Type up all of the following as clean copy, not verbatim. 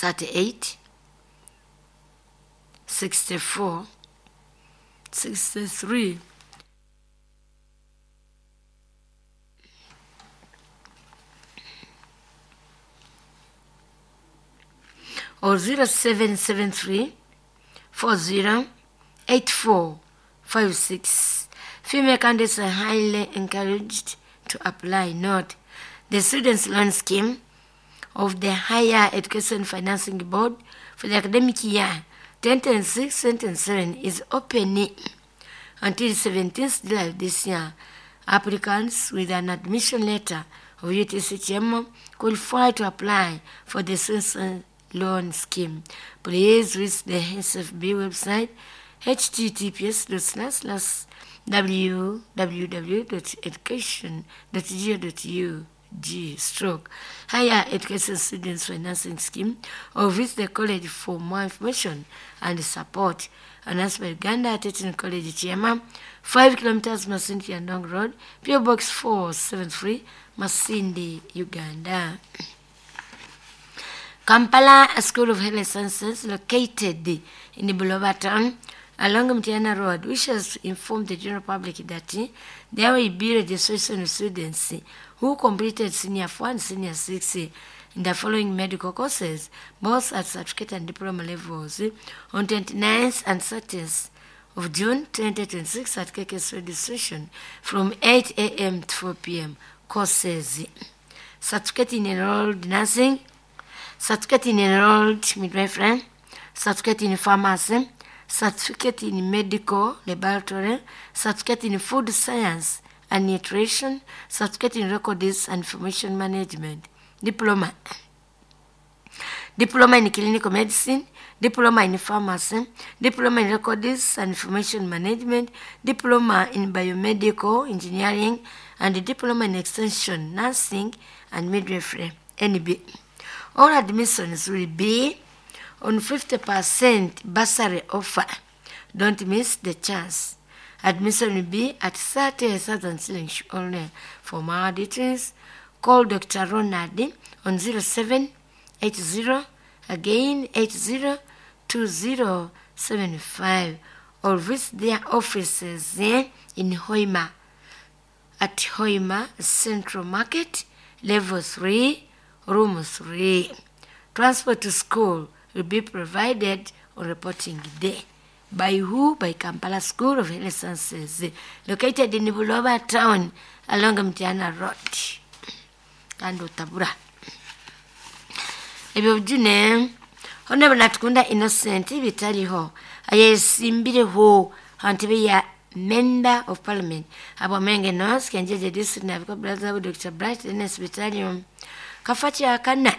38 64 63 or 0773 40 84 56. Female candidates are highly encouraged to apply. Note, the Students' Loan Scheme of the Higher Education Financing Board for the academic year 2026-2027 is open until 17th July this year. Applicants with an admission letter of UTCHM qualify to apply for the Students' Loan Scheme. Please visit the SFB website https www.education.go.ug stroke higher education students financing scheme or visit the college for more information and support. Announced by Uganda Teaching College Chiema, 5 kilometers Masindi Yandong Road, PO Box 473, Masindi, Uganda. Kampala School of Health Sciences, located in Buloba town along Mtiana Road, wishes to inform the general public that there will be registration of students who completed Senior 4 and Senior 6 in the following medical courses, both at certificate and diploma levels, on 29th and 30th of June 2026 at KKS registration from 8 a.m. to 4 p.m. Courses: Certificate in Enrolled Nursing, Certificate in Enrolled Midwifery, Certificate in Pharmacy, Certificate in Medical Laboratory, Certificate in Food Science and Nutrition, Certificate in Records and Information Management, Diploma. Diploma in Clinical Medicine, Diploma in Pharmacy, Diploma in Records and Information Management, Diploma in Biomedical Engineering, and Diploma in Extension Nursing and Midwifery, NB. All admissions will be on 50% bursary offer. Don't miss the chance. Admission will be at 30,000 shillings only. For more details, call Dr. Ronald on 0780, again 80 2075, or visit their offices in Hoima at Hoima Central Market, Level 3, Room 3. Transport to school will be provided on reporting day. By who? By Kampala School of Health Sciences, located in Buloba Town along Mtiana Road. Kandi otabura. Ebyo bijune, Honorable Natukunda Innocent bitariho ayesimbireho hantebe ya Member of Parliament Abwamenge North Kenjeje District nabiko brother Dr. Bright Dennis Bitariho kafati akana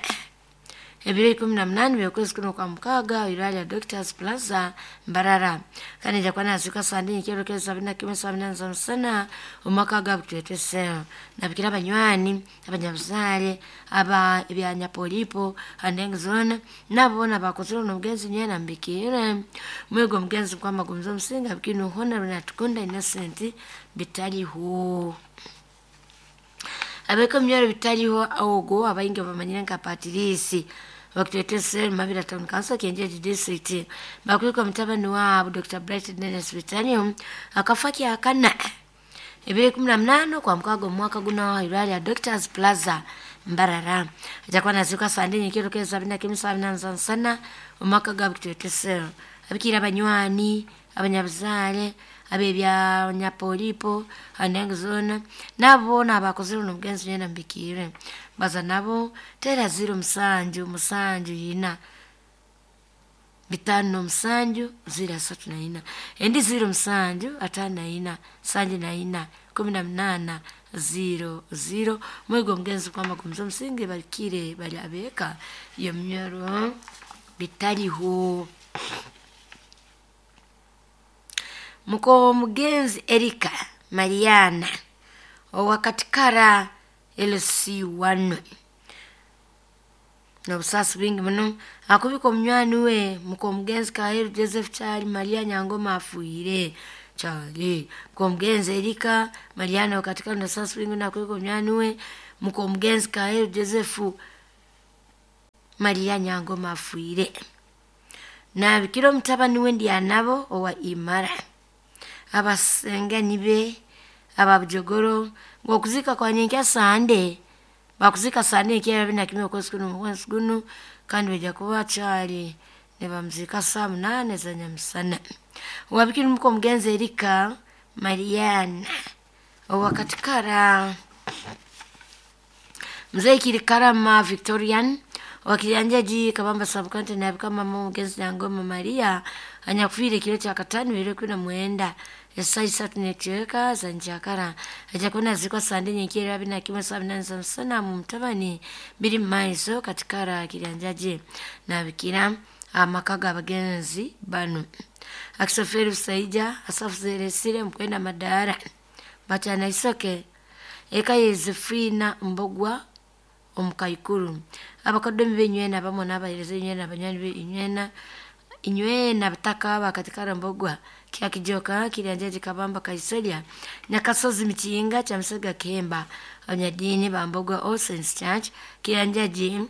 ebiro 18 byokwezi kuno kwa mukaaga irwalya Doctors Plaza Mbarara kandi nja kuba nazuka saa ndini kiro kero 71 78 za musana omwaka gwa butwetese nabikira abanywani abanyabuzaare aba ebyanyapolipo andengi zoona nabo boona bakozire ono omugenzi nyowe mbikiire mwego omugenzi nkwamagumiza omusinga bikinu Honorable Natukunda Innocent bitariho abeka emyoro bitariho ogo abaingi bamanyire nka Patirisi bakutwetese Mabira Town Council Kenjeji District bakwika mutabani waabo Dr. Bright Dennis Bitariho akafa kyakana ebiro 18 kwa mukaaga omwaka guno irwalya Doctors Plaza Mbarara ajakuba nazuka saa ndini kiro kero 71 78 za nsana omwaka gwa butwetese abikiire abanywani abanyabuzaare ab'ebyanyapolipo andengi zoona nabo boona abakozire ono omugenzi nyowe mbikiire baza nabo tera 0 7 7 4 5 7 0 3 4 endi 0 7 5 4 7 18 0 0 mwego omugenzi kwamagumiza omusingi barikire bari abeeka iyo myoro bitariho. Muko omugenzi Erika Mariana owakatikara LC1 nobusaasi bwingi muno akubika omunywani we muka omugenzi Kaheru Joseph Kyali Maria Nyangoma afuire Kyali muka omugenzi Erika Mariana wakatikara nobusaasi bwingi muno akubika omunywani we muka omugenzi Kaheru Joseph Maria Nyangoma afiire. Nabikira omutabani we Ndyanabo owa Imara. Abasengani be ababujogoro ng'okuziika kwa nyenkya Sande bakuzika Sande enkya abiri na kimwe okwezi kuno omwezi guno kandi baija kuba bakyali nibamuziika saa 8 za nyamusana. Owabikira omuka omugenzi Erika Mariana owa Katikara. Mzee Kirikarama Victorian wakilianjaji Kabamba Sabukante nabika mama omugenzi Nyangoma Maria anyakufiire ekiro kya katano bibiri kumi na mwenda esaa isatu n'ekicweka za njakara aja kuba nazikwa Sande nyenkya 21 saa 8 za musana mu mutabani biri mu maiso Katikara Kirianjaji nabikira amaka g'abagenzi bano Akisoferi Busaija Asafu Zeresire Mukwenda Madara Bachana Isoke eka Yezefina Mbogwa omukaikuru abakodomi benywena bamwe n'abahereza inywena abanywani be inywena inywena bataka bakatikara Mbogwa kyakijoka Kirianjaji Kabamba Kaisolya Nyakasozi Mikinga Kyamusaga Kemba abanyadiini ba Mbogwa All Saints Church Kirianjaji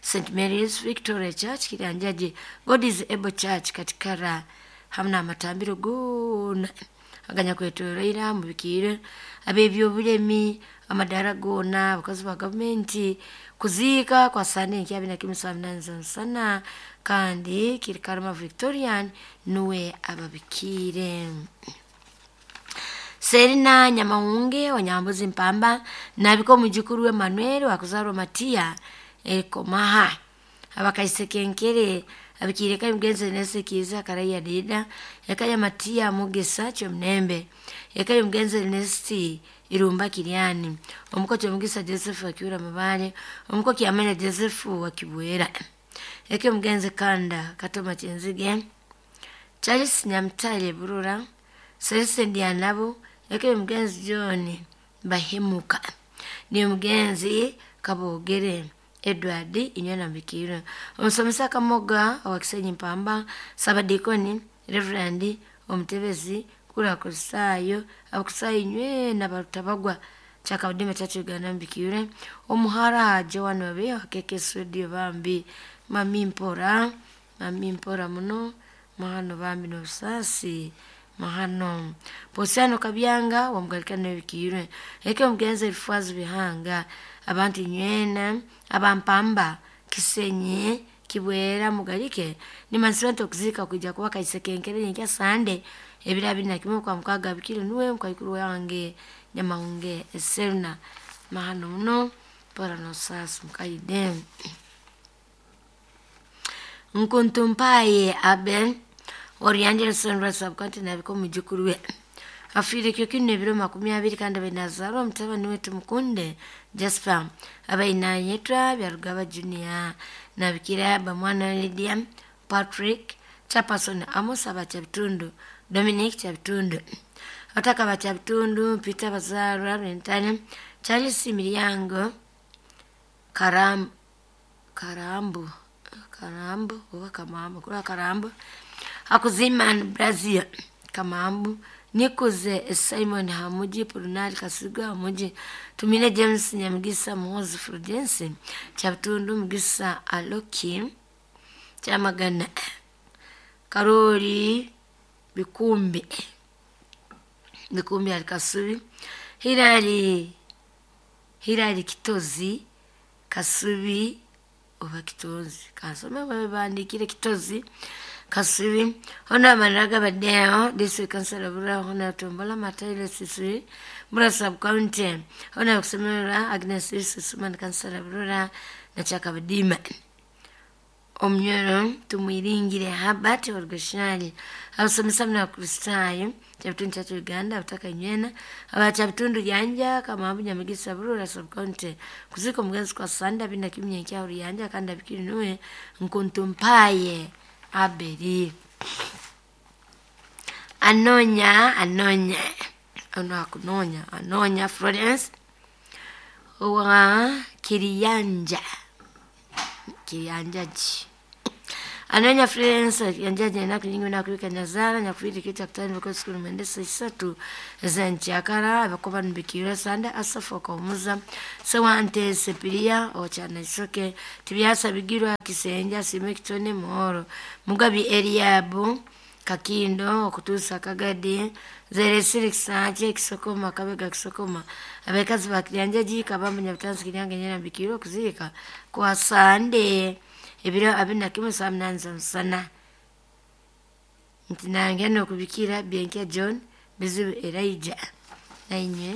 St Mary's Victoria Church Kirianjaji God is Able Church Katikara hamwe n'amatambiro goona aganyakwetoroire mubikiire ab'ebyobulemi amadara goona abakozi ba gavumenti kuziika kwa Sande enkya 21 saa 8 za musana kandi Kirikarama Victorian nuwe ababikiire. Serina Nyamahunge wa Nyambuzi Mpamba nabika omujukuru we Manuel wakuzarwa Matia Ekomaha abakaisekenkere abikiire ka omugenzi Nese Kiiza Karaya Dida eka ya Matia Mugisa Kyomunembe eka y'omugenzi Ernest Irumba Kiriani omuko Kyomugisa Joseph Wakiura Mabale omuko Kyamanya Joseph Wakibwera eka y'omugenzi Kanda Katoma Kyenzige Charles Nyamutale Burura Celeste Ndyanabo eka y'omugenzi John Bahemuka ni omugenzi Kabogere Edward Inywena Mbikiro omusomesa Kamoga owa Kisenyi Mpamba Sabadikoni Reverend omutebezi kura Kristayo abakusayo inywena barutabagwa Kyakabudima Church Uganda Mbikire omuhara Joan Wabe wa KK Studio bambi mami mpora muno mahano bambi n'obusasi mahano Posiano Kabyanga wamugalikana ebikirwe eke omugenzi Elifwazi Bihanga abantu inywena abampamba Kisenyi Kibwera mugalike nimansiba okuzika kuija kuba kaisekenkere nyenkya Sande ebiro 21 kwa mukaga bikiro nuwe mukaikuru wange Nyamahunge Serna mahano muno pora nosasi mukaide. Nkuntumpaye Abel Oriangelson Rasabkanti nabiko mujukuru we afiire ekyo kino ebiro 20 kandi abainazarwa omutabani wetu Mukunde Jasper abainayetwa Byarugaba Junior nabikira bamwana Lydia Patrick Chaperson Amos Abakyabitundu Dominic Kyabitundu Otaka Bakyabitundu Peter Bazarwa Rentane Charles Miryango Karambu oba Kamambu kura Karambu Akuziman Brazil Kamambu Nikuze Simon Hamuji Purunali Kasiga Hamuji Tumine James Nyamugisa Muhozi Fulgence Kyabitundu Mugisa Aloki Kyamagana Karoli Bikumbi Alikasubi Hilali Kitozi Kasubi oba Kitozi kansome babandikire Kitozi Kasubi hona manaraga badeo district council Burra hona Tombola Mataile Sisui Burra sub county hona kusemera Agnes Susuman council Burra na Chakabadima Omnyoro tumwiringire Habati Orgashali abasomesa na Kristayo Kyabitundu Church Uganda abutaka inywena abakyabitundu yanja Kamambu Nyamugisa Burra sub county kuzika omugenzi kwa Sande 21 nkya Ruyanja kandi abikiri nuwe Nkuntumpaye Abeli. Anonya ono akunonya Anonya Florence owa Kiriyanja ji Anonya Florence yanjaje enaku nyingi nakuwika nyazara nyakuwiri kita kutani biko sikulu mendesa isatu zenchakara abakoba nbikira sanda asafa komuza sewante sepiria ochana isoke tibyasa bigirwa kisenja sime kitone muhoro mugabi Eliabu Kakindo okutuusa Kagadi zeresire kisanje kisokoma kabega kisokoma abekazi bakiryanjaji kabamba nyabutansi kiryange nyera bikiro okuziika kwa sande ebiro 21 saa 8 za musana nti nange nokubikira Byenkya John Bizibu Elijah nainywe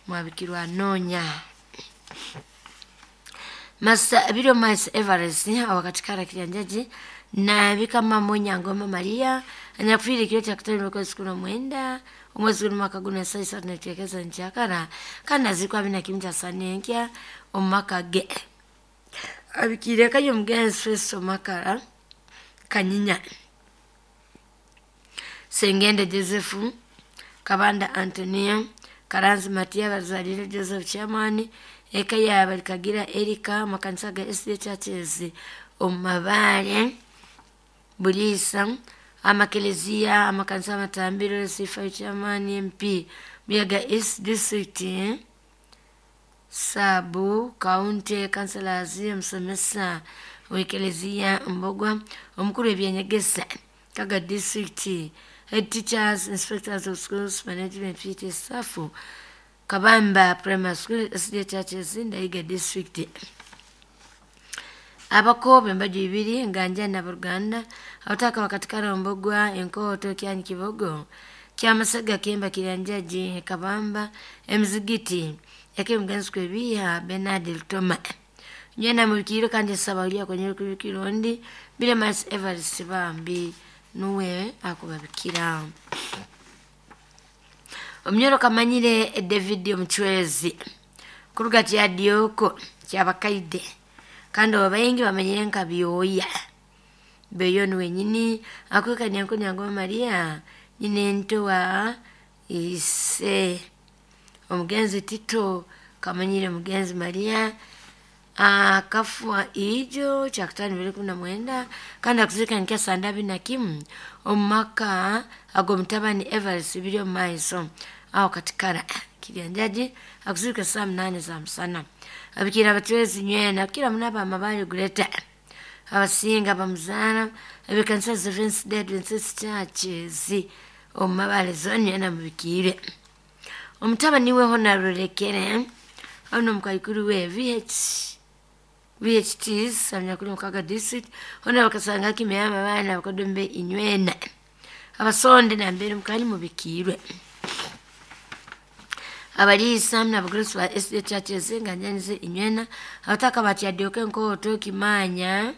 mwabikirwa anonya Masa biro mais Everest awakatikara kiryanjaji na bikama monya ngoma Maria anyakufiiri kiro kya kutano mwezi kumi na mwenda omwezi guno mwaka guno saa isatu neteekeza nkyakara kandi azikwa bina kimu kya sanenkya omu maka ge abikiire kayo omugenzi Festo Makara Kanyinya Sengende Joseph Kabanda Antonia Karanzi Matia Bazalire Joseph Chairman eka yaaba Kagira Erika amakanisa ga SDA Churches omu Mabaare Buliisa amakelezia amakanisa amatambiro C5 Chairman MP Buyaga East District Sabu County Councillors omusomesa w'ekelezia Mbogwa omukuru w'ebyenyegesa Kaga District Head Teachers Inspectors of Schools Management PT Staff Kabamba Primary School SDA Churches Ndaiga District abakobe embaju ibiri nganja na Buruganda abataka bakatikara Mbogwa enkoto kyanyi Kibogo kyamasaga kemba kiryanjaji Kabamba emizigiti yake mugenzi kwebiha Bernard Lutoma nyena mubikiro kandi sabawulya kwenye kubikiro ndi bile mas Everest bambi nuwe akubabikira omunyoro kamanyire David omuchwezi kuruga kya Dioko kyabakaide kandi abaingi bamanyire nka byoya beyo wenyini akweka nyanko nyango Maria nyine ntowa ise omugenzi Tito kamanyire mugenzi Maria akafwa ijo cha kutano bibiri kumi na mwenda kandi akuzika nkya sandabi na kimu omumaka ago mutabani Everest biri omu maiso aho katikara kiryanjaji akuzika saa 8 za musana abikira abatwezi nywena kila munaba amabali guleta abasinga bamuzaana ebikanisa Seventh Day Adventist Churches omu Mabale zone nywena mubikire omutabani we Honorable ono mukaikuru we VHTs amnyakuri mukaga district hona bakasanga kimeyama bana bakodombe inywena abasonde na mbere mukali mubikirwe abalisa na bagrusi ba SDA Churches nganyanize inywena abataka batyadyoke nkoto kimanya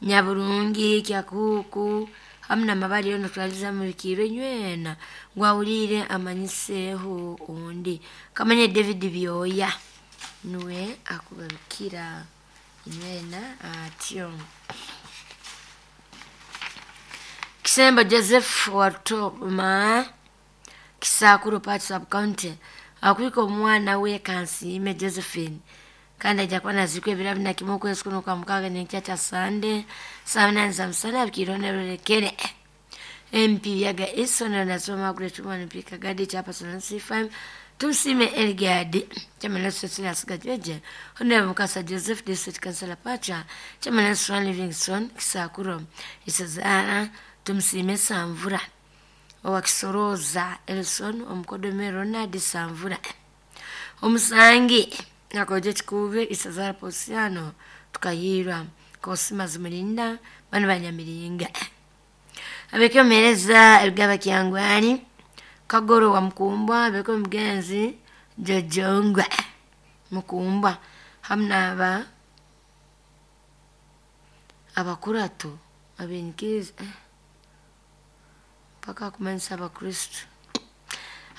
nyaburungi kyakuku hamna mabali yono twaliza mubikirwe nywena ngwawulire amanyiseho undi kamanye David Byoya nuwe akubabikira inywena atyo Kisemba Joseph Watoma Kisakuro Part Sub County akwika omwana we Kansiime Josephine kandi ajja kuba nazikwa ebiro abiri na kimu okwezi kuno kwa mukaaga n'enkya kya Sande saa 8 za musana abikirwe Honorable MP Yaga East Honorable Margaret Woman MP Kagadi Chairperson C5 Tusime Elgadi Chairman Cecilia Sigajeje Honorable Mukasa Joseph District Councillor Pacha Chairman Swan Livingstone Kisakuro Isazara Tumsime Samvura owakisoroza Elson omukodome Ronald Samvura omusangi nakoje kikube Isazara Posiano tukayirwa Kosima Zumulinda bano banyamiringa abekyomereza ebigaba kyangwani Kagoro wa Mukumbwa abeko mugenzi Jojongwa Mukumbwa hamna aba abakurato abenkiriza paka kumanyisa abakristo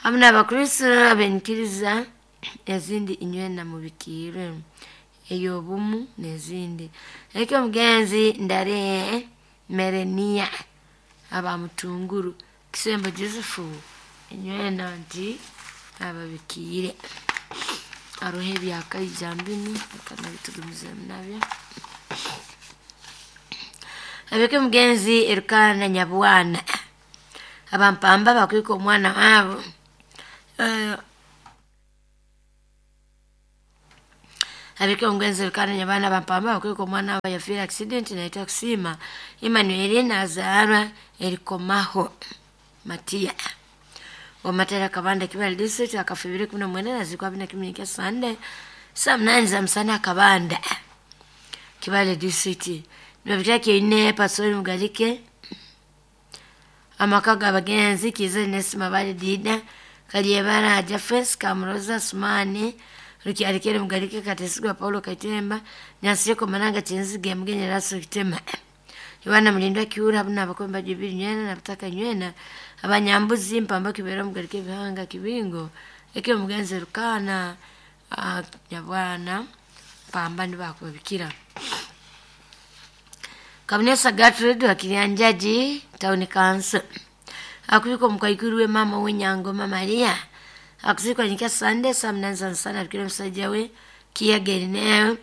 hamna abakristo abenkiriza ezindi inywena mubikirwe eyobumu nezindi ekyo mugenzi Ndare Merenia aba Mutunguru Kisembo Joseph inywena nti ababikire arohe byakaijambini akanabitugumiza nabyo. Abeke mugenzi Erukana Nyabwana abampamba bakwika omwana wabo. Abeke omugenzi Erukana Nyabwana abampamba bakwika omwana wabo yafiire accident naitwa kusiima Emmanuel nazaarwa erikomaho Matia omatera Kabanda Kibale district akafa 2019 nazikwa 2011 Sunday saa 8 za msana Kabanda Kibale district. Nibabitaki ine pasori Mugalike amaka g'abagenzi Kiza Nesima Bali Dida Kalyebara Jafes Kamuroza Sumani Rukyarikere Mugalike Katesigwa Paulo Kaitemba Nyansireko Mananga Chinzige Mugenyi Raso Kitema Yohana Mulindwa Kiura buna abakomba jibiri nywena na butaka nywena abanyambuzi mpamba kibera Mugalike Bihanga Kibingo eke mugenzi Rukana Nyabwana pamba nibakubikira. Kabinesa Gertrude wa Kirianjaji Town Council akubika omukaikuru we mama w'Enyangoma Maria akuzikwa nyika Sunday saa 8 za msana abikira omusajja we Kiyageri newe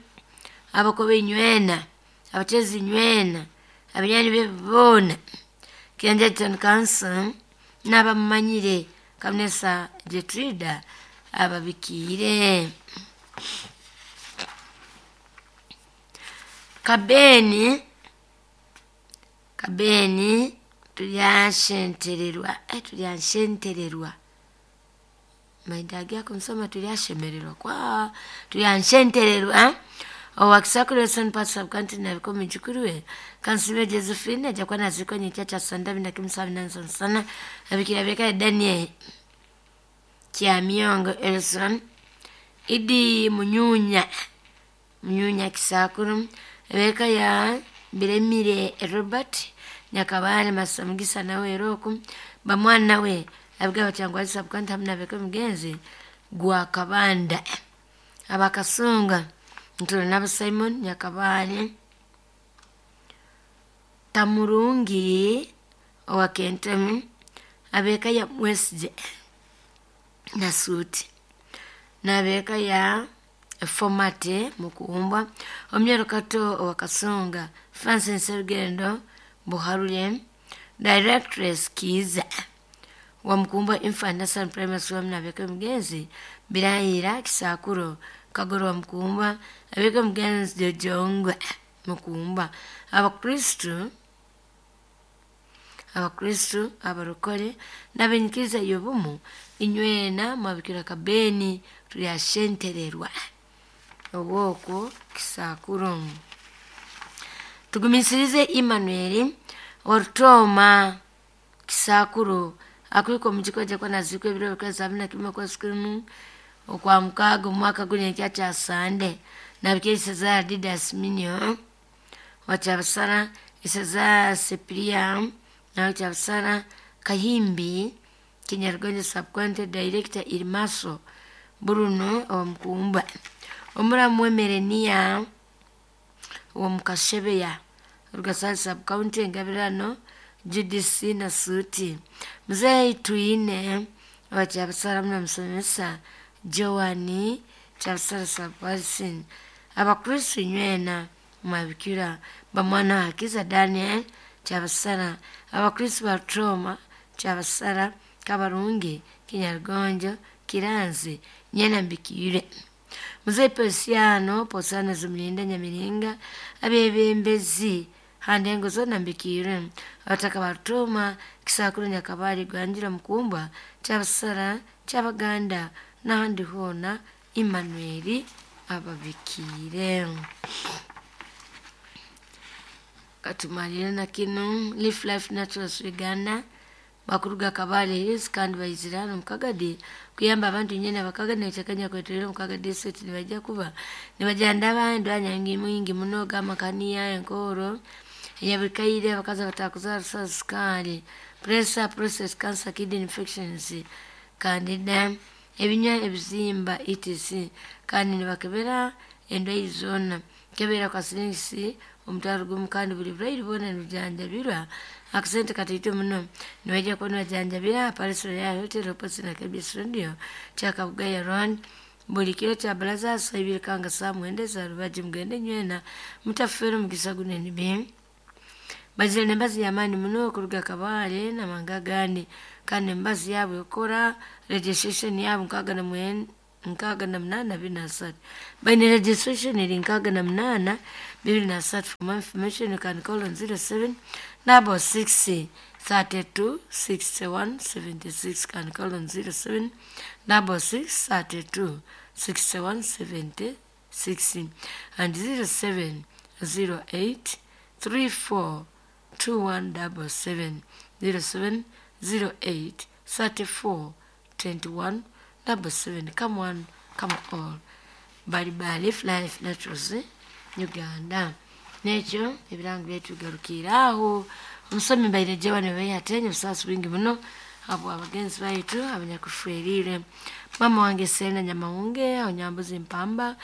abakobe nywena abatezi nywena abinyani be boona Kirianjaji Town Council n'abamumanyire Kabinesa Gertrude ababikiire. Kabeni tulyanshentererwa maidagi akumsoma tulyashemererwa kwa tulyanshentererwa owakisakuru Wilson Park Sub-County nabiko mujukuru we Kansibe Josephine aja kuwa nazikwa nyekya cha sanda bina kimusabi nansa sana abikira beka Daniel Kyamyongo Elson Idi Munyunya Kisakuru ebeka ya Biremire Robert Nyakabale Masamugisa nawe Eroku bamwana we abiga cyangwa Sub-County hamwe nabeko mugenzi gwa Kabanda abakasunga Ntolo nabo Simon Nyakabale Tamurungi owa Kentemu abeka ya Mwesije na Suti nabeka ya Fomate mukuumbwa omnyero kato owa Kasunga Francis Serugendo Buharule Directress Kiza wa Mkumbwa Infant Nursery Primary School nabeka mugenzi Birayira Kisakuro Kagoro wa Mkumbwa abeka mugenzi Jojongwe Mukumbwa Abakristu abarokore n'abenyikiriza y'obumu inywena mwabikira Kabeni tulyashentererwa obwoko Kisakuro. Tugumisirize Emmanuel Ortoma Kisakuro akwiko mujiko jakwa nazikwe ebiro bikwa sabina kimwe kwa siku okwa mukago mwaka gunyekya cha Sande nabikira za Didas Minyo wachabasara isaza Sepria na wachabasara Kahimbi Kinyargonje Sub-County Director Irmaso Bruno wa Mkumba omuramu wemerenia wa Mukashebeya Rugasari Sub-County Engabirano GDC na Suti Mzee Tuine wa Chabasara mna msomesa Joani Chabasara Sub-County Abakristu nywena mwabikira bamwana hakiza Daniel Chabasara Abakristu ba Troma Chabasara Kabarungi Kinyargonjo Kiranzi nyena mbikire Mzee Posiano Posana Zumlinda Nyamiringa abebembezi handengo zona mbikire abataka batoma Kisakuru Nyakabali Gwanjira Mukumbwa Chabasara Kyabaganda n'ahandi hona Emmanuel ababikire. Katumalire na kino Life Life Naturals Uganda bakuruga Kabale Hills kandi bayizirano mukagadi kuyamba abantu nyene abakagadi nekyakanya kweterera mukagadi set nibajja kuba nibajanda abantu anyangi mwingi muno gamakaniya enkoro eyabikaire abakazi abatakuzara sukari pressure process cancer kidney infections candida ebinywa ebizimba etc kandi nibakebera endwaire zoona kebera kwa siringisi omutwaro gumu kandi buli bulwaire bwona nibujanjabirwa akasente kataito muno nibaija kuba nibajanjabira Palace Royal Hotel opposite na KBS Radio Kyakabugaya Road buli kiro kya baraza saa ibiri kanga saa mwenda za rubaji mugende nywena mutafere omugisa gunene bi. Bazire n'embazi y'amaani muno kuruga Kabale n'amahanga agandi, kandi embazi yaabo ekora registration yaabo 68 23. Baine registration eri 68 23. For more information you can call on 07 66 32 61 76. Can call on 07 66 32 61 76 and 07 08 34 2177, 07 08 34 21 77. Come one, come all. Bali Bali Life Naturals Uganda. Nekyo ebirango byaitu bigarukire aho. Omusomi mbaire Joan Beyatenye, obusaasi bwingi muno abo abagenzi baitu abanyakufwerire. Mama wange Sena Nyamahunge aho Nyambuzi Mpamba,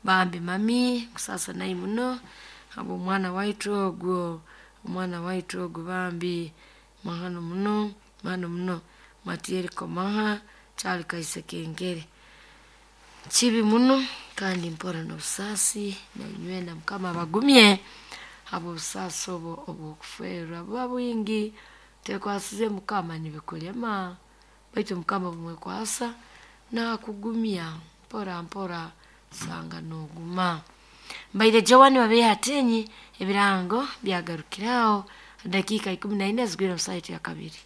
bambi mami kusasa nayi muno abo omwana waitu ogwo, omwana waitu ogwo bambi mahano muno, mahano muno. Matieri Komaha Charles Kaise Kengere, kibi muno kandi mpora n'obusaasi, nainywena Mukama abagumye abo obusaasi obwo obw'okufeerwa buba bwingi. Tekwasize Mukama nibikulema, baitu Mukama bumwekwasa nakugumya mpora mpora sanga noguma. Mbaire Joan Babehatenyi, ebirango byagarukiraho dakiika 14 zigwire mu saaha ya kabiri.